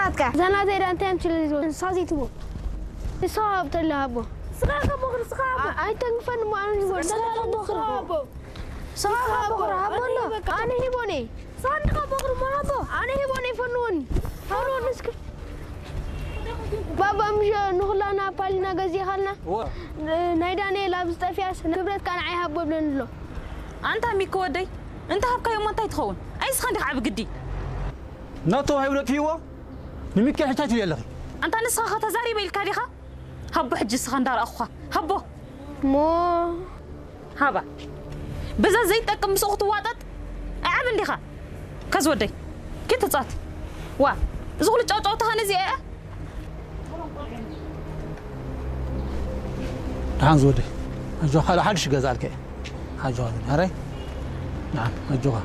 እዛ ናተይ ደኣ እንታይ እያ ትብል? ንስኻ ዘይትቦ። ንስኻ ሃብ ተለ ሃቦ። ስኻ ከቦኽር፣ ስኻ ሃቦ። ኣ-፣ ኣይተንክፈኒ እሞ ኣነ ይቦ። ስኻ ከቦኽር። ስኻ ሃቦ። ስኻ ከቦኽር፣ ሃቦ ኣሎ። ኣነ በቃ። ኣነ ሂቦኒ። ስኻ እንዲ ከቦኽር እሞ ሃቦ። ኣነ ሂቦኒ፣ ፈንወኒ። ፈንወኒ እስኪ። ባባ፣ ምሽ ንኹላና ፓሊና ገዚእኻልና? እወ። ን-፣ ናይ ዳንኤል ኣብ ዝጠፍያስ ንብረትካ ንዓይ ሃቦ ብለኒ ኣሎ። ኣንታ ሚኪ ወደይ፣ እንተ ሃብካዮ እሞ እንታይ ትኸውን? ኣይ እስኻ እንዲኻ ዓቢ ግዲ። ናቶ ሂቡ ነጥፍይዎ? ንሚኪ ሕቻ ትብሊ ኣለኺ። ኣንታ ንስኻ ኸ ተዛሪበ ኢልካ ዲኻ? ሃቦ ሕጂ እስኻ እንዳረኣኹኻ። ሃቦ። እሞ ሃባ። በዛ ዘይጠቅም ምስኡ ክትዋጠጥ ኣዕብ እንዲኻ። ከዝ ወደይ። ኪድ ትጻት። ዋ። እዚ ኩሉ ጫውጫውታ ኸነ እዚኣ እያ? ደሓን ዝወደይ። ኣጆኻ፣ ካልእ ሓድሽ ገዛልከ። ኣጆኻ፣ ኣረይ። ደሓን፣ ኣጆኻ።